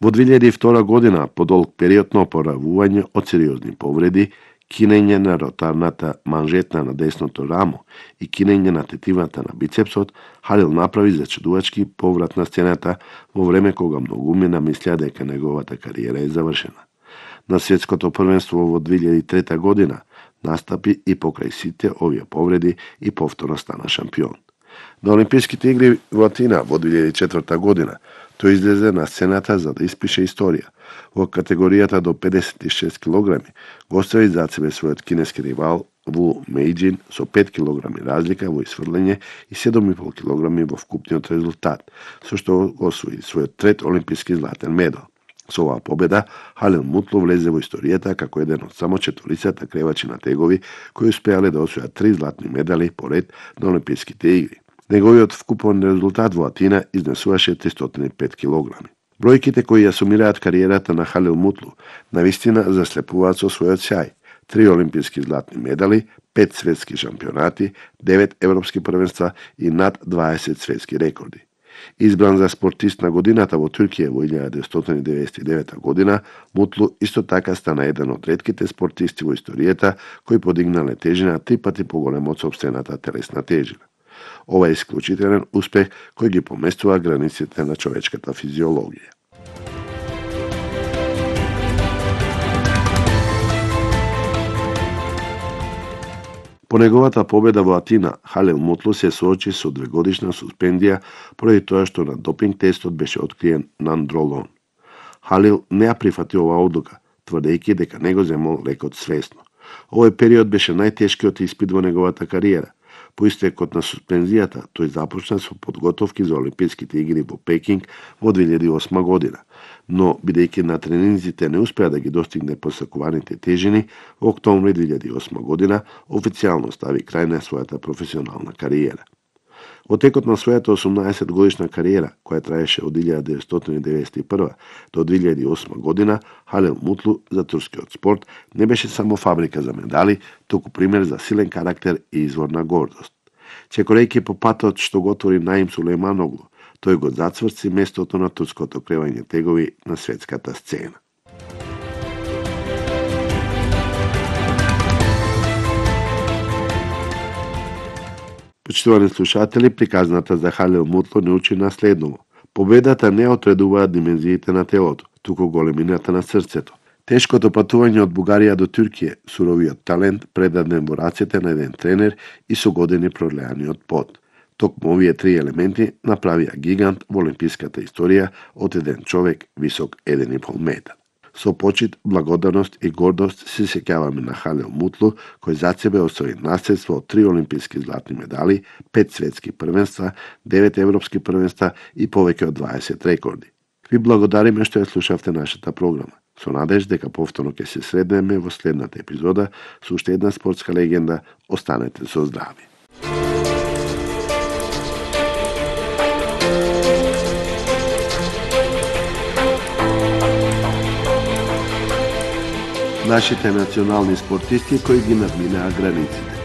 Во 2002 година, по долг период на опоравување од сериозни повреди, кинење на ротарната манжетна на десното рамо и кинење на тетивата на бицепсот, Халил направи зачудувачки поврат на сцената во време кога многумина мислеа дека неговата кариера е завршена. На светското првенство во 2003 година настапи и покрај сите овие повреди и повторно стана шампион. На Олимписките игри во Атина во 2004 година тој излезе на сцената за да испише историја. Во категоријата до 56 килограми го остави зад себе својот кинески ривал Ву Мејџин со 5 килограми разлика во исфрлење и 7,5 килограми во вкупниот резултат, со што освои својот трет олимписки златен медал. Со оваа победа, Халил Мутлу влезе во историјата како еден од само четворицата кревачи на тегови кои успеале да освојат 3 златни медали поред на Олимписките игри. Неговиот вкупен резултат во Атина изнесуваше 305 килограми. Бројките кои ја сумираат кариерата на Халил Мутлу навистина заслепуваат со својот сјај. 3 олимписки златни медали, 5 светски шампионати, 9 европски првенства и над 20 светски рекорди. Избран за спортист на годината во Туркија во 1999 година, Мутлу исто така стана еден од ретките спортисти во историјата кои подигнале тежина 3 пати поголема од сопствената телесна тежина. Ова е исклучителен успех кој ги поместува границите на човечката физиологија. По неговата победа во Атина, Халил Мутлу се соочи со 2-годишна суспендија поради тоа што на допинг тестот беше откриен нандролон. Халил не ја прифати оваа одлука, тврдејќи дека не го земал лекот свесно. Овој период беше најтешкиот испит во неговата кариера. По истекот на суспензијата, тој започна со подготовки за Олимписките игри во Пекинг во 2008 година, но бидејќи на тренинзите не успеа да ги достигне посакуваните тежини, во октомври 2008 година официјално стави крај на својата професионална кариера. Во текот на својата 18 годишна кариера, која траеше од 1991 до 2008 година, Халил Мутлу за турскиот спорт не беше само фабрика за медали, туку пример за силен карактер и извор на гордост. Чекорејќи по патот што го отвори Наим Сулејманоглу, тој го зацврци местото на турското кревање тегови на светската сцена. Почитувани слушатели, приказната за Халил Мутлу не учи на следново. Победата не отредуваат димензиите на телото, туку големината на срцето. Тешкото патување од Бугарија до Туркија, суровиот талент предаден во рацете на еден тренер и со години пролеаниот пот. Токму овие 3 елементи направија гигант во олимписката историја од еден човек висок 1,5 метар. Со почит, благодарност и гордост се сеќаваме на Халил Мутлу, кој зад себе освои наследство од 3 олимписки златни медали, 5 светски првенства, 9 европски првенства и повеќе од 20 рекорди. Ви благодариме што ја слушавте нашата програма. Со надеж дека повторно ќе се среднеме во следната епизода со уште една спортска легенда. Останете со здрави. Нашите национални спортисти кои ги надминаа границите.